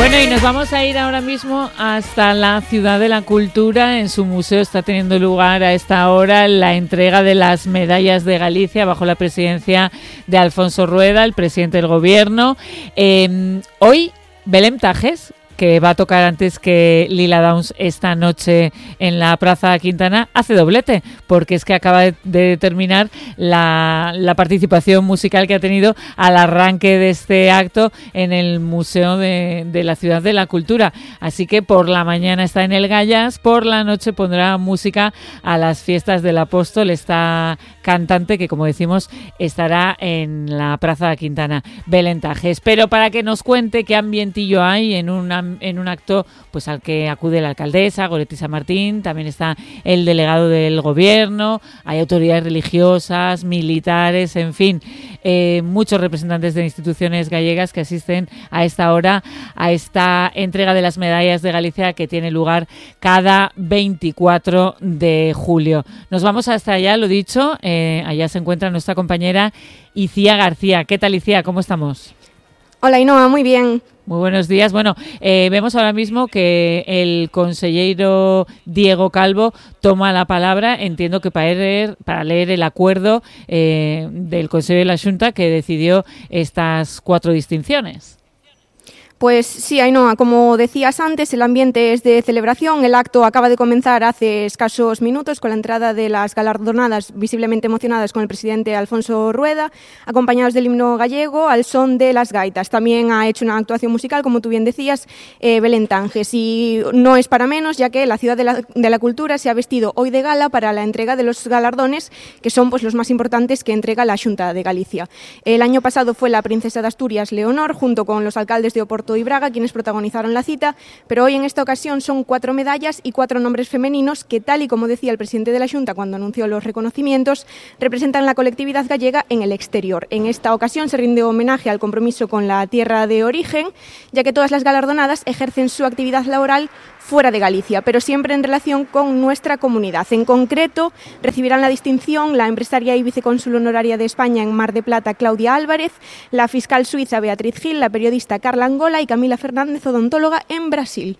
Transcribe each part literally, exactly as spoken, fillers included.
Bueno, y nos vamos a ir ahora mismo hasta la Ciudad de la Cultura. En su museo está teniendo lugar a esta hora la entrega de las medallas de Galicia bajo la presidencia de Alfonso Rueda, el presidente del gobierno. Eh, hoy, Belém Tajes, que va a tocar antes que Lila Downs esta noche en la Plaza Quintana, hace doblete, porque es que acaba de, de terminar la, la participación musical que ha tenido al arranque de este acto en el Museo de, de la Ciudad de la Cultura. Así que por la mañana está en el Gallas, por la noche pondrá música a las fiestas del Apóstol, esta cantante que, como decimos, estará en la Plaza Quintana, Belém Tajes. Pero para que nos cuente qué ambientillo hay en una en un acto pues al que acude la alcaldesa, Goretti San Martín, también está el delegado del gobierno, hay autoridades religiosas, militares, en fin, eh, muchos representantes de instituciones gallegas que asisten a esta hora a esta entrega de las medallas de Galicia que tiene lugar cada veinticuatro de julio. Nos vamos hasta allá, lo dicho, eh, allá se encuentra nuestra compañera Icía García. ¿Qué tal, Icía? ¿Cómo estamos? Hola, Ainhoa, muy bien. Muy buenos días. Bueno, eh, vemos ahora mismo que el consellero Diego Calvo toma la palabra, entiendo que para leer, para leer el acuerdo eh, del Consejo de la Xunta que decidió estas cuatro distinciones. Pues sí, Ainhoa, como decías antes, el ambiente es de celebración. El acto acaba de comenzar hace escasos minutos con la entrada de las galardonadas visiblemente emocionadas con el presidente Alfonso Rueda, acompañados del himno gallego al son de las gaitas. También ha hecho una actuación musical, como tú bien decías, eh, Belém Tajes. Y no es para menos, ya que la Ciudad de la, de la Cultura se ha vestido hoy de gala para la entrega de los galardones, que son pues los más importantes que entrega la Xunta de Galicia. El año pasado fue la princesa de Asturias, Leonor, junto con los alcaldes de Oporto y Braga, quienes protagonizaron la cita, pero hoy en esta ocasión son cuatro medallas y cuatro nombres femeninos que, tal y como decía el presidente de la Xunta cuando anunció los reconocimientos, representan la colectividad gallega en el exterior. En esta ocasión se rinde homenaje al compromiso con la tierra de origen, ya que todas las galardonadas ejercen su actividad laboral fuera de Galicia, pero siempre en relación con nuestra comunidad. En concreto, recibirán la distinción la empresaria y vicecónsul honoraria de España en Mar de Plata, Claudia Álvarez, la fiscal suiza Beatriz Gil, la periodista Carla Angola y Camila Fernández, odontóloga en Brasil.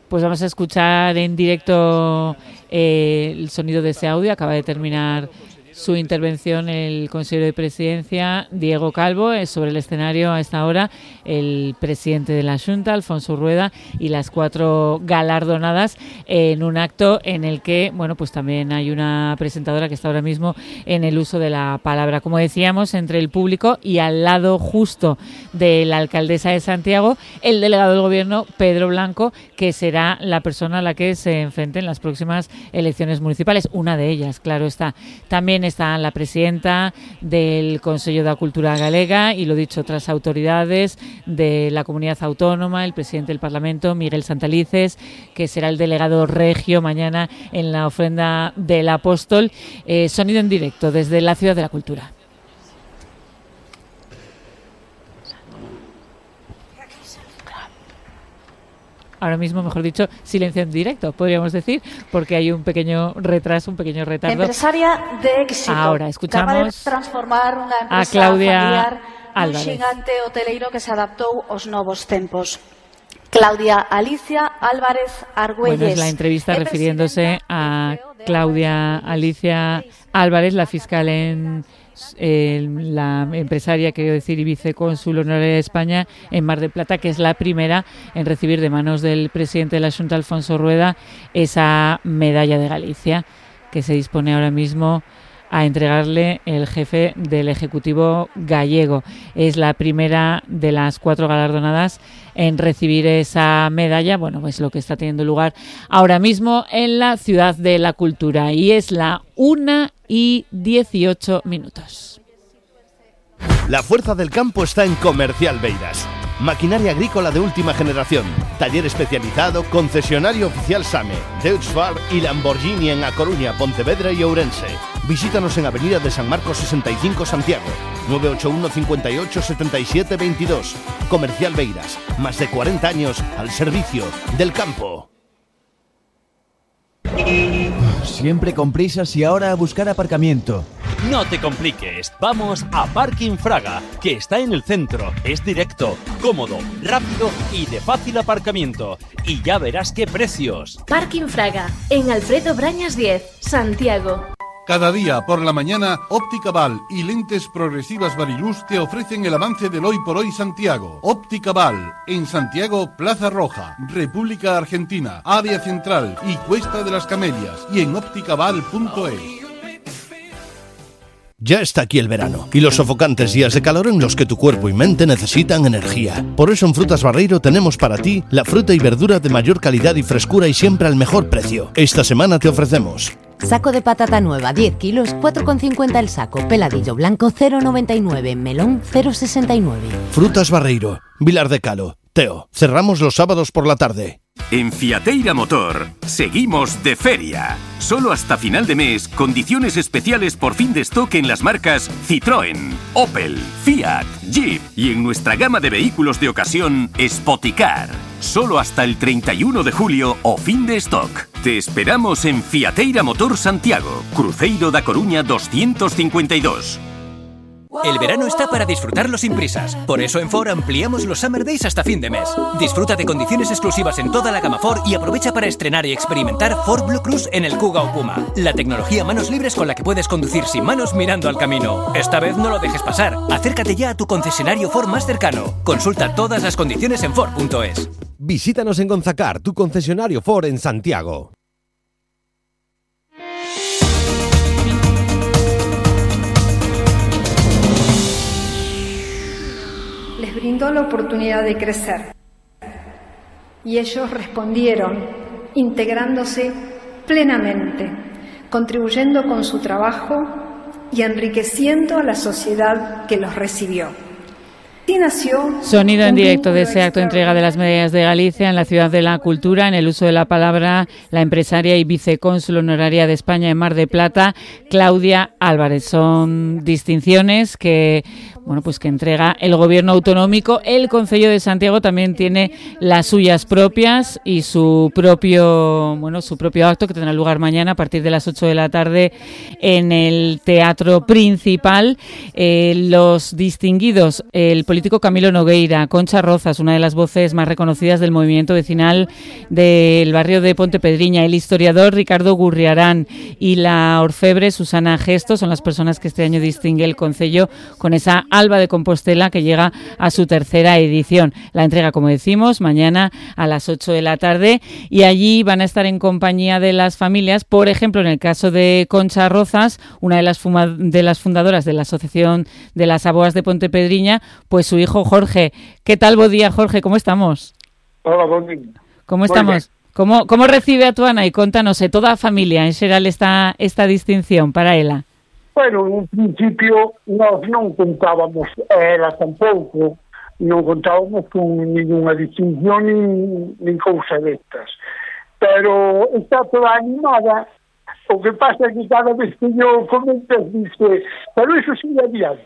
Pues vamos a escuchar en directo eh, el sonido de ese audio. Acaba de terminar su intervención el consejero de Presidencia, Diego Calvo, es sobre el escenario a esta hora el presidente de la Xunta, Alfonso Rueda, y las cuatro galardonadas en un acto en el que, bueno, pues también hay una presentadora que está ahora mismo en el uso de la palabra. Como decíamos, entre el público y al lado justo de la alcaldesa de Santiago, el delegado del gobierno, Pedro Blanco, que será la persona a la que se enfrente en las próximas elecciones municipales. Una de ellas, claro está. También está la presidenta del Consejo de la Cultura Galega y, lo dicho, otras autoridades de la comunidad autónoma, el presidente del Parlamento, Miguel Santalices, que será el delegado regio mañana en la ofrenda del Apóstol. Eh, sonido en directo desde la Ciudad de la Cultura. Ahora mismo, mejor dicho, silencio en directo, podríamos decir, porque hay un pequeño retraso, un pequeño retardo. Empresaria de éxito. Ahora escuchamos capaz de transformar unha empresa a Claudia familiar Álvarez, un xigante hoteleiro que se adaptou aos novos tempos. Claudia Alicia Álvarez Argüelles. Bueno, es la entrevista refiriéndose a Claudia Alicia Álvarez, la fiscal en Eh, la empresaria, quiero decir, y vicecónsul honoraria de España en Mar del Plata, que es la primera en recibir de manos del presidente de la Xunta, Alfonso Rueda, esa medalla de Galicia que se dispone ahora mismo a entregarle el jefe del Ejecutivo gallego. Es la primera de las cuatro galardonadas en recibir esa medalla. Bueno, pues lo que está teniendo lugar ahora mismo en la Ciudad de la Cultura, y es la una y dieciocho minutos. La fuerza del campo está en Comercial Beiras. Maquinaria agrícola de última generación, taller especializado, concesionario oficial SAME, Deutz-Fahr y Lamborghini en A Coruña, Pontevedra y Ourense. Visítanos en Avenida de San Marcos sesenta y cinco, Santiago, nueve ocho uno, cinco ocho, siete siete dos dos. Comercial Beiras, más de cuarenta años al servicio del campo. Siempre con prisas y ahora a buscar aparcamiento. No te compliques, vamos a Parking Fraga, que está en el centro, es directo, cómodo, rápido y de fácil aparcamiento. Y ya verás qué precios. Parking Fraga, en Alfredo Brañas diez, Santiago. Cada día por la mañana, Óptica Val y Lentes Progresivas Variluz te ofrecen el avance del Hoy por Hoy Santiago. Óptica Val, en Santiago, Plaza Roja, República Argentina, Área Central y Cuesta de las Camelias, y en ópticaval punto es. Ya está aquí el verano y los sofocantes días de calor en los que tu cuerpo y mente necesitan energía. Por eso en Frutas Barreiro tenemos para ti la fruta y verdura de mayor calidad y frescura y siempre al mejor precio. Esta semana te ofrecemos saco de patata nueva, diez kilos, cuatro con cincuenta el saco. Peladillo blanco, cero con noventa y nueve. Melón, cero con sesenta y nueve. Frutas Barreiro, Vilar de Calo. Teo, cerramos los sábados por la tarde. En Fiateira Motor seguimos de feria. Solo hasta final de mes, condiciones especiales por fin de stock en las marcas Citroën, Opel, Fiat, Jeep y en nuestra gama de vehículos de ocasión Spoticar. Solo hasta el treinta y uno de julio o fin de stock. Te esperamos en Fiateira Motor Santiago, Cruzeiro da Coruña doscientos cincuenta y dos. El verano está para disfrutarlo sin prisas. Por eso en Ford ampliamos los Summer Days hasta fin de mes. Disfruta de condiciones exclusivas en toda la gama Ford y aprovecha para estrenar y experimentar Ford Blue Cruise en el Kuga o Puma. La tecnología manos libres con la que puedes conducir sin manos mirando al camino. Esta vez no lo dejes pasar. Acércate ya a tu concesionario Ford más cercano. Consulta todas las condiciones en Ford punto es. Visítanos en Gonzacar, tu concesionario Ford en Santiago. Les brindó la oportunidad de crecer y ellos respondieron integrándose plenamente, contribuyendo con su trabajo y enriqueciendo a la sociedad que los recibió. Sí nació Sonido en directo de ese acto de entrega de las medallas de Galicia en la Ciudad de la Cultura. En el uso de la palabra, la empresaria y vicecónsul honoraria de España en Mar de Plata, Claudia Álvarez. Son distinciones que, bueno, pues que entrega el Gobierno autonómico. El Concello de Santiago también tiene las suyas propias y su propio, bueno, su propio acto que tendrá lugar mañana a partir de las ocho de la tarde en el Teatro Principal. Eh, los distinguidos, el político Camilo Nogueira, Concha Rozas, una de las voces más reconocidas del movimiento vecinal del barrio de Pontepedriña, el historiador Ricardo Gurriarán y la orfebre Susana Gesto son las personas que este año distingue el Concello con esa Alba de Compostela que llega a su tercera edición. La entrega, como decimos, mañana a las ocho de la tarde y allí van a estar en compañía de las familias. Por ejemplo, en el caso de Concha Rozas, una de las, fuma- de las fundadoras de la Asociación de las Aboas de Pontepedriña, pues su hijo Jorge. ¿Qué tal? Buen día, Jorge, ¿cómo estamos? Hola, buen día. ¿Cómo estamos? ¿Cómo, cómo recibe a tu Ana? Y contanos, eh, toda a familia en xeral esta, esta distinción para ela. Bueno, en un principio nós non contábamos, ela tampouco, non contábamos con ninguna distinción nin, nin cousa destas. Pero está toda animada. O que pasa é que cada vez que yo comentas dice, pero iso sí é adiante.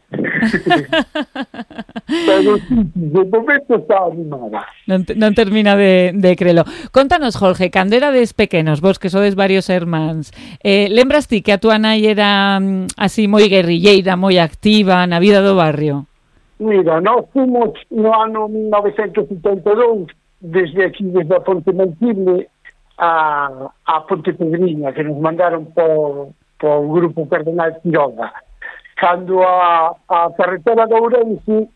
Pero sí, de momento está animada. Non, non termina de, de crelo. Contanos, Jorge, cando erades pequenos, vos que sodes varios hermáns, eh, lembras ti que a túa nai era mm, así moi guerrilleira, moi activa na vida do barrio? Mira, nós fomos no ano mil novecentos setenta e dous, desde aquí, desde a Ponte Mantible, a, a Pontepedriña, que nos mandaron por, por o Grupo Cardenal Quiroga. Cando a, a carretera de Ourense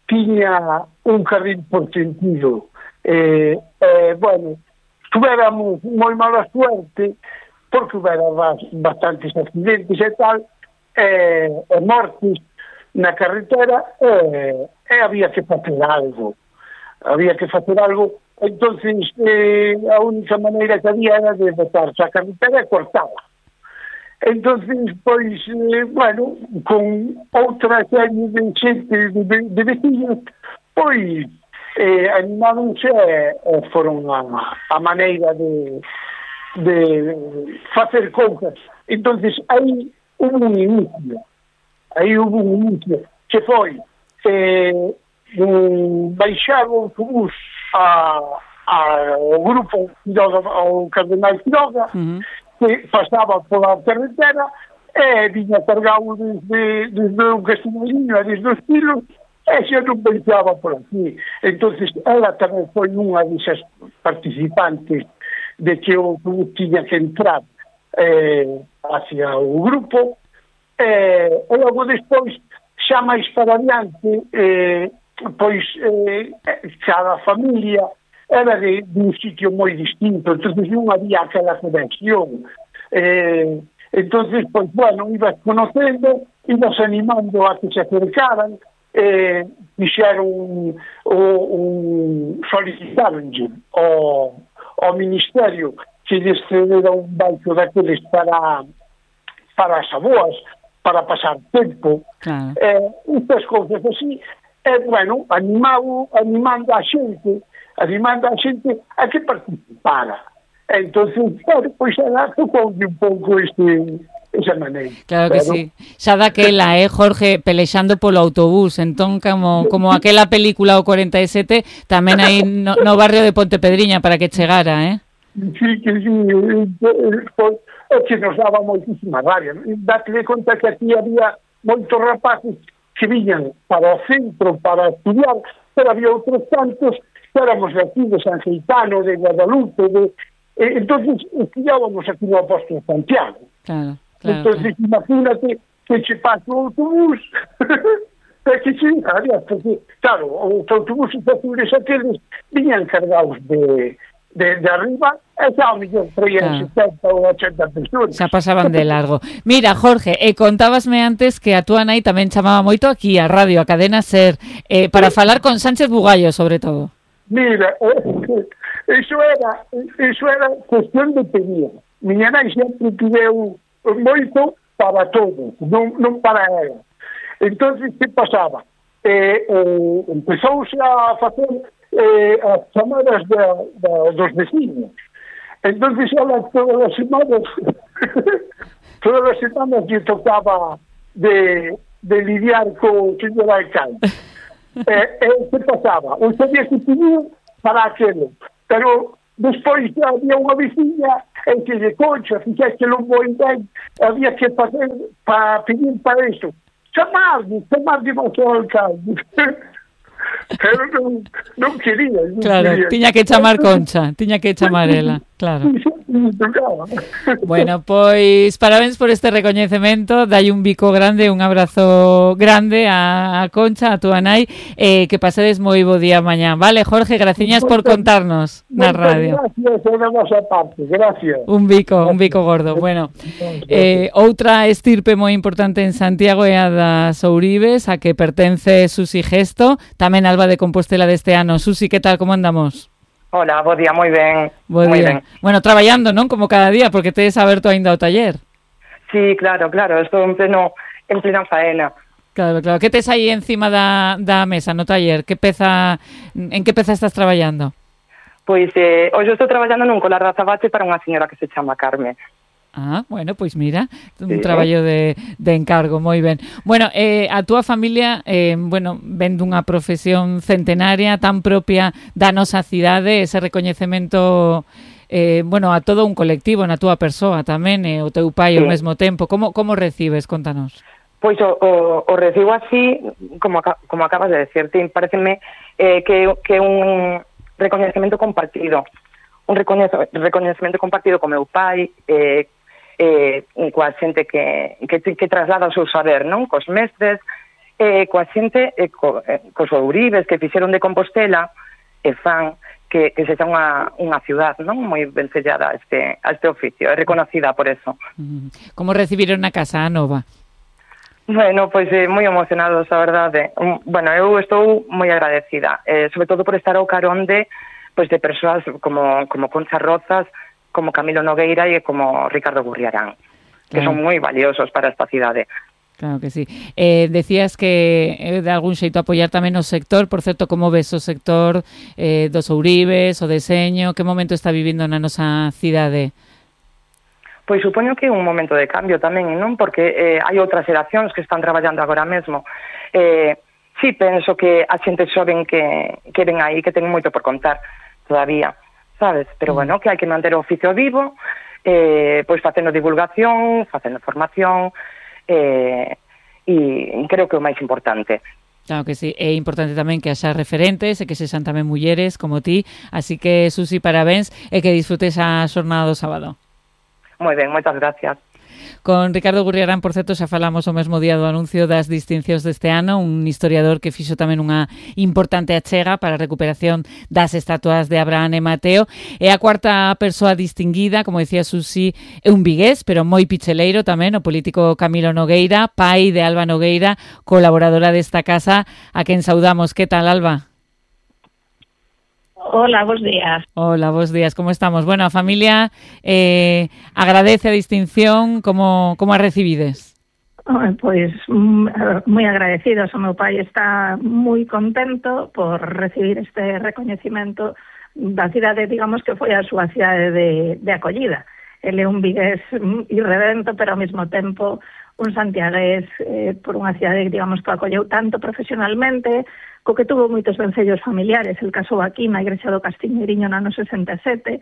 tiña un carril por sentido. Eh, eh, bueno, tuveramos moi mala suerte, porque hubera bastantes accidentes e tal, e eh, mortes na carretera, e eh, eh, había que facer algo. Había que facer algo. Entonces, eh, a única maneira que había era de botarse a carretera e cortala. Entonces, pois, eh, bueno, con outra serie de xente de, de vecinos, pois, eh, animáronse e eh, foron a, a maneira de, de facer cousas. Entonces, aí hubo un inicio, aí hubo un inicio, que foi eh, um, baixar o autobús a, a, ao grupo Quiroga, ao Cardenal Quiroga, uh-huh. que pasaba pola carretera e viña cargado desde, desde un castiño e desde os tiros, e xa non pensaba por aquí. Entonces ela tamén foi unha desas participantes de que o autobús tiña que entrar eh, hacia o grupo, eh, e logo despois xa máis para adiante eh, pois eh, cada familia era de, de un sitio moi distinto, entonces non había aquela conexión. Eh, entonces, pois, bueno, ibas conocendo, ibas animando a que se acercaran, eh, fixeron un, un solicitaron ao, ao Ministerio que lles cedera un banco daqueles para para as aboas, para pasar tempo, claro. eh, estas cousas así, e, bueno, animado, animando a xente, animando a xente a que participara. Entonces, claro, pois ela tocou un pouco este... esa maneira. Claro que pero... sí. Xa daquela, eh, Jorge, pelexando polo autobús. Entón, como, como aquela película o cuarenta e sete, tamén aí no, no barrio de Pontepedriña para que chegara, eh? Sí, que sí. É que nos daba moitísima rabia. Date de conta que aquí había moitos rapaces que viñan para o centro para estudiar, pero había outros tantos que éramos de aquí, de San Geitano, de Guadalupe, de... Eh, entonces estudiábamos aquí no Apóstolo Santiago. Claro. Claro, entonces claro. Imagínate que che pasa o autobús é que che había, porque claro, os autobuses azules aqueles viñan cargados de, de, de arriba e xa ao millón traían claro. setenta ou ochenta personas, xa pasaban de largo. Mira, Jorge, e contábasme antes que a túa nai tamén chamaba moito aquí a radio, a Cadena Ser, eh, para sí. falar con Sánchez Bugallo, sobre todo. Mira, eh, eso era eso era cuestión de pedida. Miña nai sempre tiveu moito para todos, non, non para ela. Entonces, que pasaba? Eh, eh, empezouse a facer eh, as chamadas de, de, dos vecinos. Entonces, ela todas as semanas todas as semanas lle tocaba de, de lidiar co señor alcalde. eh, eh, que pasaba? O sabía que tenía para aquelo, pero despois había unha veciña en que de Concha, fixaste que non vou ben, había que fazer para pedir para iso. Chamarme, chamarme ao alcalde. Pero non, non quería. Non claro, quería. tiña que chamar Concha, tiña que chamar ela, claro. Bueno, pois parabéns por este recoñecemento, dai un bico grande, un abrazo grande a, a Concha, a túa nai, eh, que pasedes moi bo día mañá. Vale, Jorge, graciñas por contarnos na radio. Gracias, a nosa parte, gracias. Un bico, un bico gordo. Bueno, eh, outra estirpe moi importante en Santiago é a das Ouribes, a que pertence Susi Gesto, tamén Alba de Compostela deste ano. Susi, que tal, como andamos? Hola, bo día, moi ben. Bo moi día. Ben. Bueno, traballando, non? Como cada día, porque tedes aberto aínda o taller. Sí, claro, claro, estou en pleno en plena faena. Claro, claro. Que tes aí encima da, da mesa no taller? Que peza, en que peza estás traballando? Pois, eh, hoxe estou traballando nun colar de azabache para unha señora que se chama Carme. Ah, bueno, pois mira, un sí. traballo de, de encargo, moi ben. Bueno, eh, a túa familia, eh, bueno, ven dunha profesión centenaria tan propia da nosa cidade, ese recoñecemento, eh, bueno, a todo un colectivo, na túa persoa tamén, e eh, o teu pai sí. ao mesmo tempo. Como, como recibes? Contanos. Pois o, o, o recibo así, como, como acabas de decirte, pareceme eh, que, que un recoñecemento compartido, un recoñecemento compartido co meu pai, eh, eh, coa xente que, que, que traslada o seu saber, non? Cos mestres, eh, coa xente, eh, co, eh, cos ouribes que fixeron de Compostela e fan que, que sexa unha, unha ciudad, non? Moi vencellada a este, a este oficio, é reconocida por eso. Como recibiron na casa a nova? Bueno, pois eh, moi emocionados, a verdade. Um, bueno, eu estou moi agradecida, eh, sobre todo por estar ao carón de, pois, de persoas como, como Concha Rozas, como Camilo Nogueira e como Ricardo Gurriarán, que claro. son moi valiosos para esta cidade. Claro que sí. Eh, decías que eh, de algún xeito apoiar tamén o sector, por certo, como ves o sector eh, dos ouribes, o deseño, que momento está vivindo na nosa cidade? Pois supoño que é un momento de cambio tamén, non? Porque eh, hai outras xeracións que están traballando agora mesmo. Eh, sí, penso que a xente xoven que, que ven aí, que ten moito por contar todavía, sabes? Pero bueno, que hai que manter o oficio vivo, eh, pois facendo divulgación, facendo formación, eh, e creo que é o máis importante. Claro que sí, é importante tamén que haxa referentes e que sexan tamén mulleres como ti, así que, Susi, parabéns e que disfrutes a xornada do sábado. Moi ben, moitas gracias. Con Ricardo Gurriarán, por certo, xa falamos o mesmo día do anuncio das distincións deste ano, un historiador que fixo tamén unha importante achega para a recuperación das estatuas de Abraham e Mateo. É a cuarta persoa distinguida, como dicía Susi, é un vigués, pero moi picheleiro tamén, o político Camilo Nogueira, pai de Alba Nogueira, colaboradora desta casa, a quen saudamos. Que tal, Alba? Hola, bos días. Hola, bos días, como estamos? Bueno, a familia eh, agradece a distinción, como, como a recibides? Oh, pois moi agradecidos, o meu pai está moi contento por recibir este recoñecimento da cidade, digamos que foi a súa cidade de, de acollida. Ele é un vigués irredento, pero ao mesmo tempo un santiagués eh, por unha cidade, digamos, que acolleu tanto profesionalmente, co que tuvo moitos vencellos familiares. El casou aquí na igrexa do Castiñeiriño no ano sesenta e sete.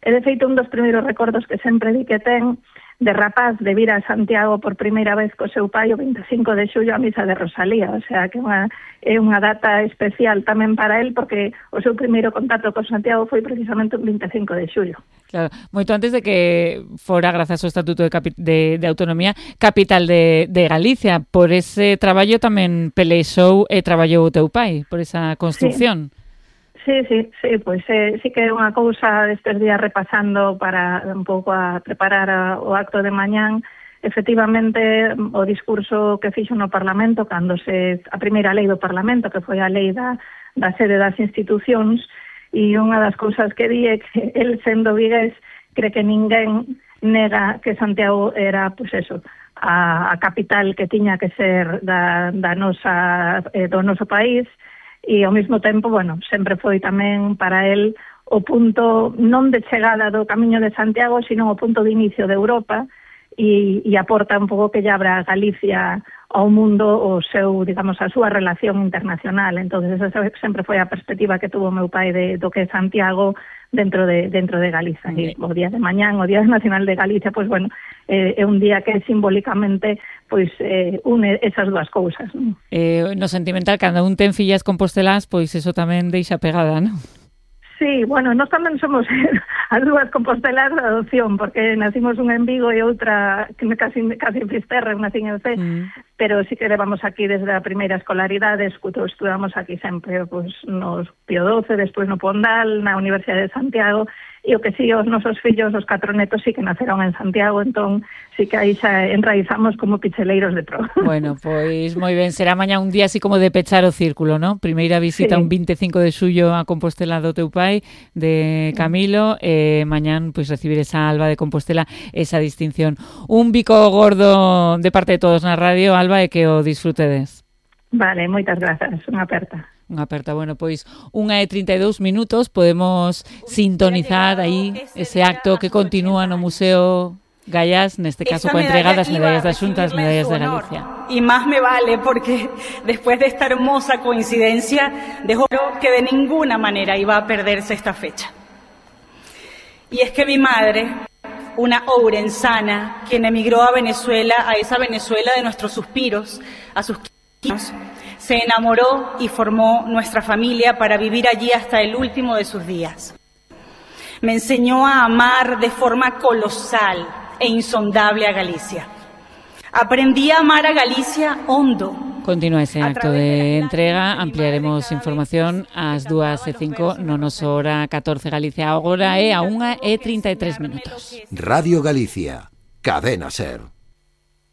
E, de feito, un dos primeiros recordos que sempre di que ten de rapaz de vir a Santiago por primeira vez co seu pai o vinte e cinco de xullo a misa de Rosalía. O sea, que unha, é unha data especial tamén para él, porque o seu primeiro contacto con Santiago foi precisamente o vinte e cinco de xullo. Claro, moito antes de que fora, grazas ao Estatuto de, Capi- de, de Autonomía, capital de, de Galicia. Por ese traballo tamén pelexou e traballou o teu pai, por esa construcción. Sí. Sí, sí, sí, pois eh, sí que é unha cousa destes días repasando para un pouco a preparar a, o acto de mañán. Efectivamente, o discurso que fixo no Parlamento, cando se a primeira lei do Parlamento, que foi a lei da, da sede das institucións, e unha das cousas que di é que el, sendo vigués, cree que ninguén nega que Santiago era, pois eso, a, a capital que tiña que ser da, da nosa, eh, do noso país, e ao mesmo tempo, bueno, sempre foi tamén para el o punto non de chegada do Camiño de Santiago, sino o punto de inicio de Europa, e, e aporta un pouco que lle abra a Galicia ao mundo o seu, digamos, a súa relación internacional. Entonces esa sempre foi a perspectiva que tuvo meu pai de, do que é Santiago dentro de dentro de Galiza. E o día de mañán, o Día Nacional de Galicia, pois bueno, eh, é un día que simbólicamente pois eh, une esas dúas cousas, non? Eh, no sentimental, cando un ten fillas compostelás, pois eso tamén deixa pegada, non? Sí, bueno, nós tamén somos as dúas compostelas de adopción, porque nacimos unha en Vigo e outra que me casi, casi en Fisterra, unha en Cee, mm. pero sí que levamos aquí desde a primeira escolaridade, estudamos aquí sempre, pues, nos Pío doce, despois no Pondal, na Universidade de Santiago, e o que sí, os nosos fillos, os catro netos, sí que naceron en Santiago, entón sí que aí xa enraizamos como picheleiros de pro. Bueno, pois moi ben, será mañá un día así como de pechar o círculo, ¿no? Primeira visita sí. Un vinte e cinco de xullo a Compostela do teu pai, de Camilo, e eh, mañán pois recibir esa Alba de Compostela, esa distinción. Un bico gordo de parte de todos na radio, Alba, e que o disfrutedes. Vale, moitas grazas, unha aperta. Unha aperta, bueno, pois unha e trinta e dous minutos, podemos sintonizar aí ese acto que continúa no Museo Gallás, neste caso coa entrega das medallas das Xuntas, medallas de Galicia. Y más me vale porque después de esta hermosa coincidencia, dejo que de ninguna manera iba a perderse esta fecha. Y es que mi madre, una ourensana, quien emigró a Venezuela, a esa Venezuela de nuestros suspiros, a sus quince años, se enamoró y formó nuestra familia para vivir allí hasta el último de sus días. Me enseñó a amar de forma colosal e insondable a Galicia. Aprendí a amar a Galicia hondo. Continúa ese acto de entrega, ampliaremos información ás dúas e cinco no noso hora catorce Galicia. Agora é a unha e trinta e tres minutos. Radio Galicia, Cadena Ser.